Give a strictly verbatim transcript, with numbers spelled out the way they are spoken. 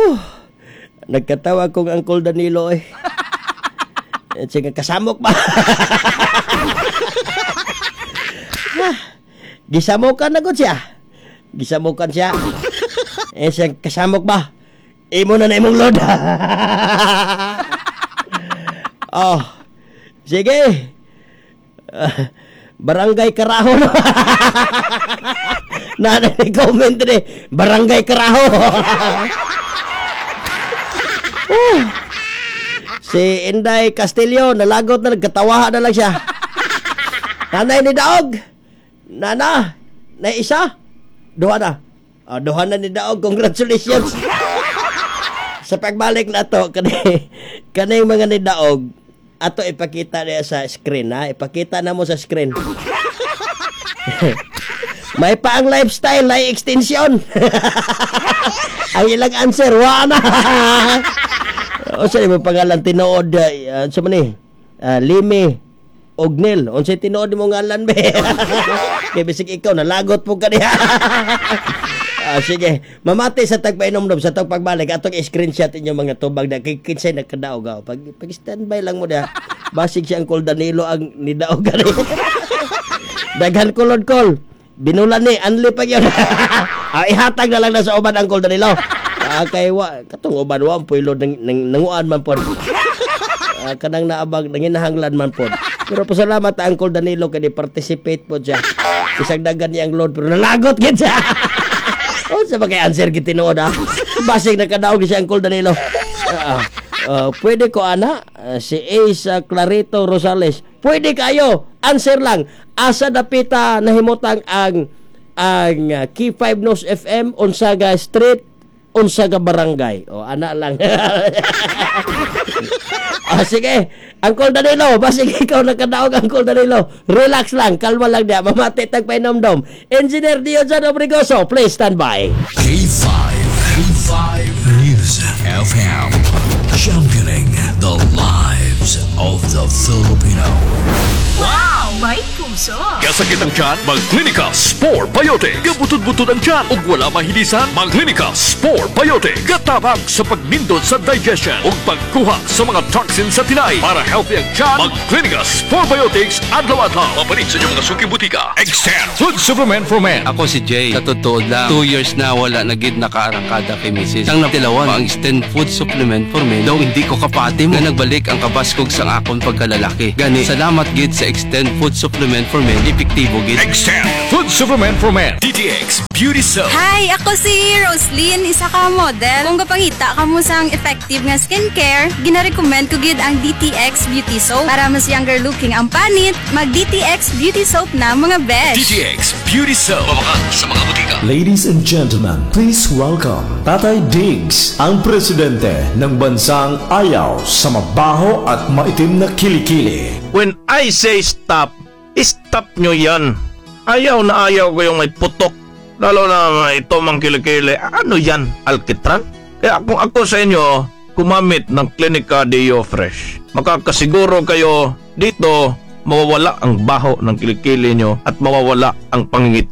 Huh. Nagkatawa kong Uncle Danilo eh. Eh, Sige, kasamok ba? Ah, Gisamokan na gud siya. Gisamokan siya. Eh, siya kasamok ba? Imo na na imong load. oh, sige. Ah, barangay Karaho. Na na comment ni Barangay Karaho. Oh. Si Inday Castillo, nalagot na, nagkatawa na lang siya. Nanay ni Daog. Nana, na isa. Duha na. Oh, duha na ni Daog. Congratulations. Sa pagbalik na to, kani, kaning mga ni Daog, ato ipakita niya sa screen, ha? Ipakita na mo sa screen. May pa ang lifestyle, ay extension. ang ilang answer, wa na. o sa mo pangalan tinuod uh, sa man ni? Uh, Limi Ognel. Unsay tinuod mo ngalan be? Kay bisig ikaw nalagot po ka niya. Ah, sige, mamati sa tagpainomdom sa tag pagbalik atong i-screenshot inyo mga tubag na kay kinsay nagkadaog ah. Pag pag standby lang mo da. Basig si Uncle Danilo ang nidaog gani. Daghan kulod kol. Binulan ni anli pa gyud. ah, ihatag na lang na sa uban Uncle Danilo. Ah, kay wa katong uban wa puy load nang, nang nanguan man pod. Ah, kanang naabag nanginahanglan man pod. Pero pasalamat Uncle Danilo kay ni participate po siya. Isang dagan niya ang load pero nalagot gid siya. Oh, sa kay answer gid tinuod ah. Basig nakadaog si Uncle Danilo. Ah, ah, pwede ko ana Ah, si Ace ah, Clarito Rosales. Pwede kayo. Answer lang. Asa dapita nahimutang ang ang uh, K five Nos F M, unsa ga street, unsa ga barangay. O ana lang. ah, sige. Uncle Danilo, basig ikaw nakadaog Uncle Danilo. Relax lang, kalma lang diya. Mamati tag painomdom. Engineer Diojan Obrigoso, please stand by. K five, K five News F M. Championing the lives of the Filipino. May puso. Kasakit ang tiyan, mag-Clinica Spore Biotic. Gabutod-butod ang tiyan ug wala mahilisan, mag-Clinica Spore Biotic. Gatabang sa pagnindot sa digestion ug pagkuha sa mga toxins sa tinai. Para healthy ang tiyan, mag-Clinica Spore Biotics adlaw-adlaw. Mapalit sa inyong mga suki butika. Extend Food Supplement for Men. Ako si Jay. Sa totoo lang, two years na wala na gid nakaarangkada kay Missus Ang natilawan, ang Extend Food Supplement for Men. Daw hindi ko kapati mo. Nga nagbalik ang kabaskog sa akon pagkalalaki. Gani, salamat gid sa Extend Food Supplement for Men. Epektibo gid. Extend Food Supplement for Men. D T X Beauty Soap. Hi! Ako si Roslyn, isa ka model. Kung gapangita ka mo sang effective nga skincare, ginarecommend ko gid ang D T X Beauty Soap. Para mas younger looking ang panit, mag D T X Beauty Soap na mga besh. D T X Beauty Soap. Mabakal sa mga butika. Ladies and gentlemen, please welcome Tatay Diggs, ang presidente ng bansang ayaw sa mabaho at maitim na kilikili. When I say stop, stop nyo yan. Ayaw na ayaw ko yung may putok. Lalo na ito mang kilikili. Ano yan? Alkitran? Kaya kung ako sa inyo, gumamit ng Clinica Dio Fresh. Makakasiguro kayo dito, mawawala ang baho ng kilikili nyo at mawawala ang pangingit.